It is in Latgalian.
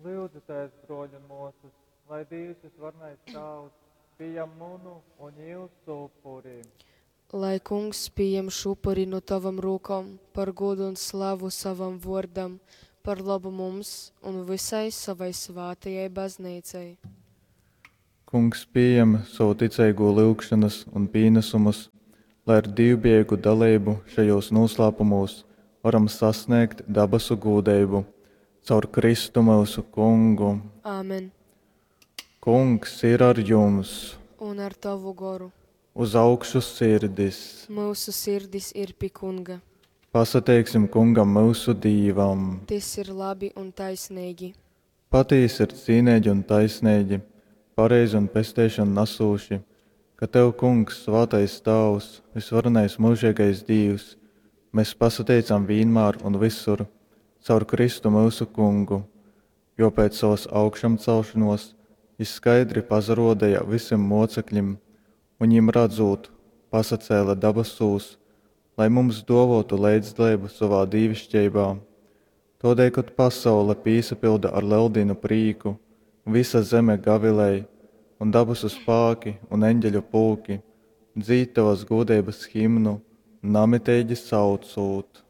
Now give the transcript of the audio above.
Lyudzitēs, brōļi un mōsas, lai Dīvs vysvarenais Tāvs pījam munu un jūsu upuri. Lai Kungs pījam šu upuri nu tovom rūkom par gūdu un slavu sovam vōrdam, par lobu mums un vysai sovai svātajai Bazneicai. Kungs pījem sovu ticeigū lyugšonas un pīnasumus, lai ar dīvbijeigu daleibu šajūs nūslāpumūs varam sasnēgt dabasu gūdeibu. Caur Kristu myusu Kungu. Āmen. Kungs ir ar jums! Un ar tovu goru. Uz augšu sirdis! Myusu sirdis ir pi Kunga. Pasateiksim Kungam myusu Dīvam! Tys ir labi un taisneigi. Patīsi ir cīneigi un taisneigi, pareizi un pesteišonu nasūši, ka tev, Kungs, svātais Tāvs, vysvarenais myužeigais Dīvs, mes pasateicam vīnmār un vysur caur Kristu myusu Kungu, jo pēc sovas augšamceļšonōs jys skaidri pasarōdeja vysim mōceklim un, jim radzūt, pasacēle dabasūs, lai mums dōvōtu leidzdaleibu sovā dīviškeibā. Tōdēļ, kod pasaule pīsapylda ar Leldīnu prīku, vysa zeme gavilej, un dabasu spāki un eņgeļu pulki dzīd tovas gūdeibas himnu, namiteigi saucūt.